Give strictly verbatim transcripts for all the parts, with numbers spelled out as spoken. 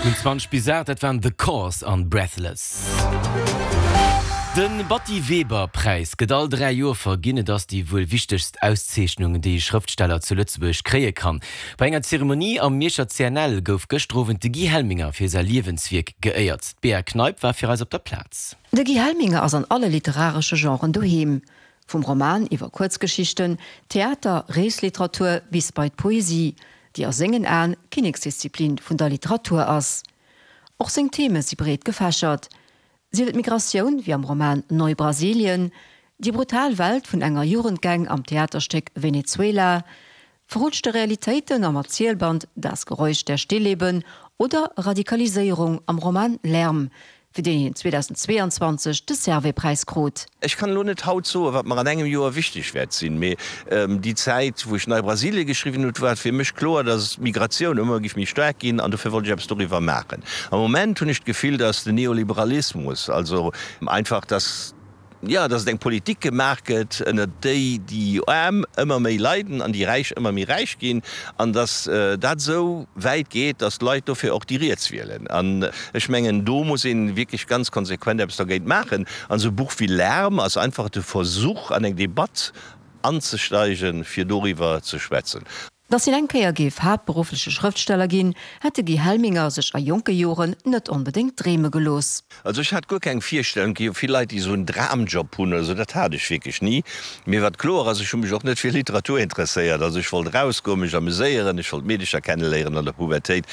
Minutten zwanzeg bis aacht, dat waren The Corrs an Breathless. De Batty Weber Präis gëtt all dräi Joer verginn. Et ass déi wuel wichtegst Auszeechnung, déi e Schrëftsteller zu Lëtzebuerg kréie kann. Bei enger Zeremonie am Mierscher C N L gouf gëschter Owend de Guy Helminger fir säi Liewenswierk geéiert. D'Bea Kneip war fir eis op der Plaz. De Guy Helminger ass an alle literaresche Genren doheem. Vum Roman iwwer Kuerzgeschichten, Theater, Reesliteratur bis bei d'Poesie, déi a sengen Aen d'Kinneksdisziplin vun der Literatur ass. Och seng Theme si breet gefächert. Sief et Migratioun wéi am Roman Neubrasilien, déi brutal Welt vun enger Jugendgang am Theaterstéck Venezuela, verrutschte Realitéiten am Erzielband Das Geräusch der Stillleben oder Radikaliséierung am Roman Lärm, fir deen hien zweedausendzweeanzwanzeg de Servais-Präis krut. Ech kann elo net haut soen, wat mer an engem Joer wichteg wäert sinn, mee déi Zäit, wou ech Neubrasilien geschriwwen hunn, war et fir mech kloer, dass d'Migratioun ëmmer géif méi staark ginn an dofir wollt ech eppes doriwwer maachen. Am Moment hunn ech d'Gefill, dass den Neoliberalismus, also einfach, dass, jo, dass et eng Politik gemaach gëtt, ënner déi déi Aarm ëmmer méi leiden an déi Räich ëmmer méi räich ginn, an dass dat esou wäit geet, dass d'Leit dofir och déi Riets wielen. An ech mengen, do muss ee wierklech ganz konsequent eppes dergéint maachen. An esou e Buch wéi Lärm ass einfach de Versuch, an eng Debatt anzesteigen, fir doriwwer ze schwätzen. Datt hien eng Kéier géif haaptberuffleche Schrëftsteller ginn, hätt de Guy Helminger sech a jonke Joren net onbedéngt dreeme gelooss. Also ech hat guer keng Virstellung, et gi jo vill Leit, déi esou en Dramjob hunn oder esou, dat hat ech wierklech ni. Mee wat kloer ass, ech hu mech och net fir Literatur interesséiert. Also ech wollt erausgoen, mech ameséieren, ech wollt Meedecher kenneléieren an der Pubertéit.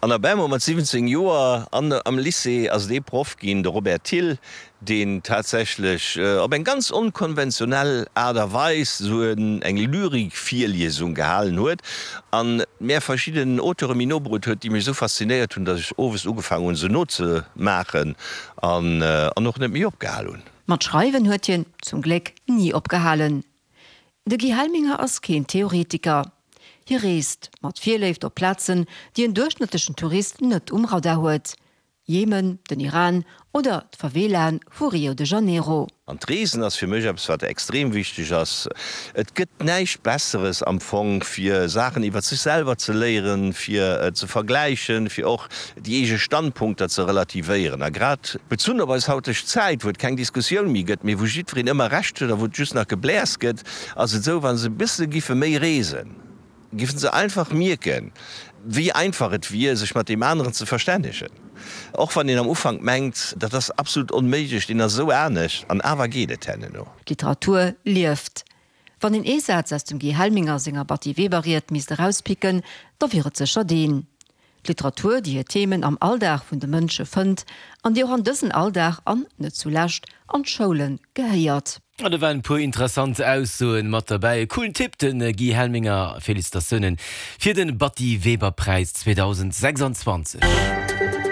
An op eemol mat siwwenzéng Joer an am Lycée ass et ee Proff ginn, de Robert Thill, deen tatsächlech op eng ganz onkonventionell Aart a Weis esou eng Lyrikvirliesung gehalen huet an mär verschidden Auteure méi no bruet huet, déi mech esou faszinéiert hunn, datt ech owes ugefaangen hunn, se nozemaachen an och net méi opgehal hunn. Mat schreiwen huet hien, zum Gléck, ni opgehalen. De Guy Helminger ass keen Theoretiker. Hie reest mat Virléift op Plazen, déi en duerchschnëttlechen Tourist net um Radar huet. Jemen, den Iran oder d'Favelaen vu Rio de Janeiro. An d'Reesen ass fir mech eppes, wat extrem wichteg ass. Et gëtt näischt Besseres am Fong, fir Saachen iwwer sech selwer ze léieren, fir ze vergläichen, fir och déi eege Standpunkter ze relativéieren. A grad bezunn op eis hauteg Zäit, wou et keng Diskussioun méi gëtt, mee wou jiddwereen ëmmer Recht huet a wou et just nach Gebläers gëtt, ass et esou, wa se e bësse giffe méi reesen, giffen se einfach mierken, wéi einfach et wier, sech mat deem aneren ze verstännegen. Och wann een am Ufank mengt, dat ass absolut onméiglech, deen ass esou anescht, an awer geet et herno. D'Literatur lieft. Wann een ee Saz aus dem Guy Helminger senger Batty-Weber-Ried misst erauspicken, da wier et sécher deen, D'Literatur, déi hir Themen am Alldag vun de Mënsche fënnt an déi och an dësen Alldag an, net zulescht, an d'Schoule gehéiert. An do waren e puer interessant Aussoen mat derbäi. E coolen Typ den Guy Helminger. Félicitatiounen fir den Batty Weber Präis zweedausendsechsanzwanzeg.